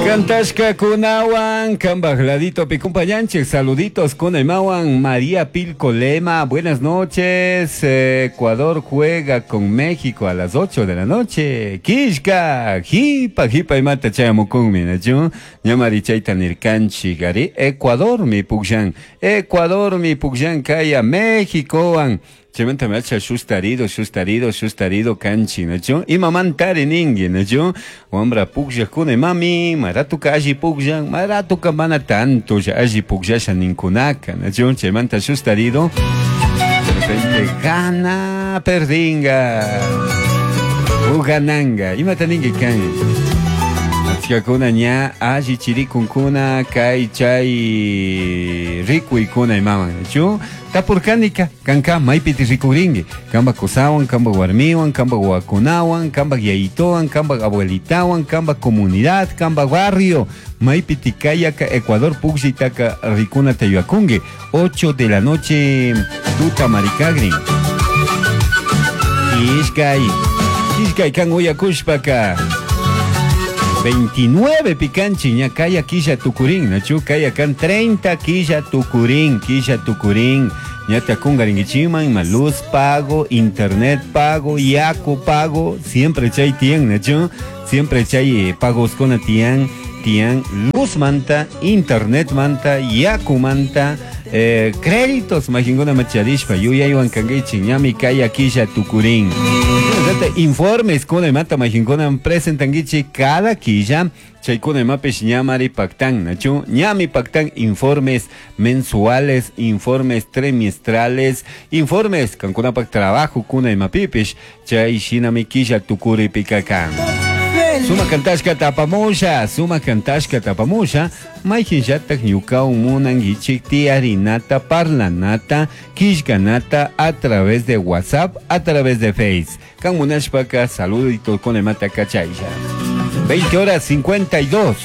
Cantashkakunawan kambaj laditopi compañanchik saluditos kunaymawan María Pilco Lema, buenas noches. Ecuador juega con México a las 8 de la noche. Kishka, jipa, jipa imata chayamukunmi, nachu? Ñamari chayta nirkanchik, ari Ecuador mi pukllan, Ecuador mi pukllan kaya Méxicowan. Chaymanta macha sustarido, sustarido, sustarido kanchi, nachu? Imamantari ninki, nachu? Wambra pukllakuna mami, maratuka alli pukllan, maratuka mana tanto alli pukllasha ninkunaka, nachu? Chaymanta sustarido. De repente gana, perdinga. O gananga. Imata ninki kan? Achkakuna ña alli chirikunkuna kay chay rikuykuna imaman, nachu? Tapurkanika, kanka maypiti rikurinki, kamba kusawan, kamba warmiwan, kamba wawakunawan, kamba yayitowan, kamba abuelitawan, kamba comunidad, kamba barrio, maypiti kayaka Ecuador pukllitaka rikunata yuyakunki, 8 de la noche tuta marikagrin. Ishkay, ishkay kan uyakushpaka. 29 picanchi ña kaya killa tukurin, nachu kaya kan 30 killa tukurin, killa tukurin. Ñata kungaringichiman, ima luz pago, internet pago, yaku pago, siempre chay tian, nachu, siempre chay pagos con tian, tian luz manta, internet manta, yaku manta, créditos majinguna macharishpa, yuyaywan kangichi, ñami kaya killa tukurin. Informes con el mata majinkuna presentangichi cada quilla chaykuna imapish ñamari pactan, nachu ñami pactan informes mensuales, informes trimestrales, informes kankunapak trabajo kuna imapipish chay shinami quilla tukuri pikakan. Suma kantashka tapamusha, suma kantashka tapamusha, mayhinllatak ñukawan munankichik tiyarinata, parlanata, killkanata a través de WhatsApp, a través de Face. Kan munashpaka saludito con el mata kachaylla. 20 horas 52.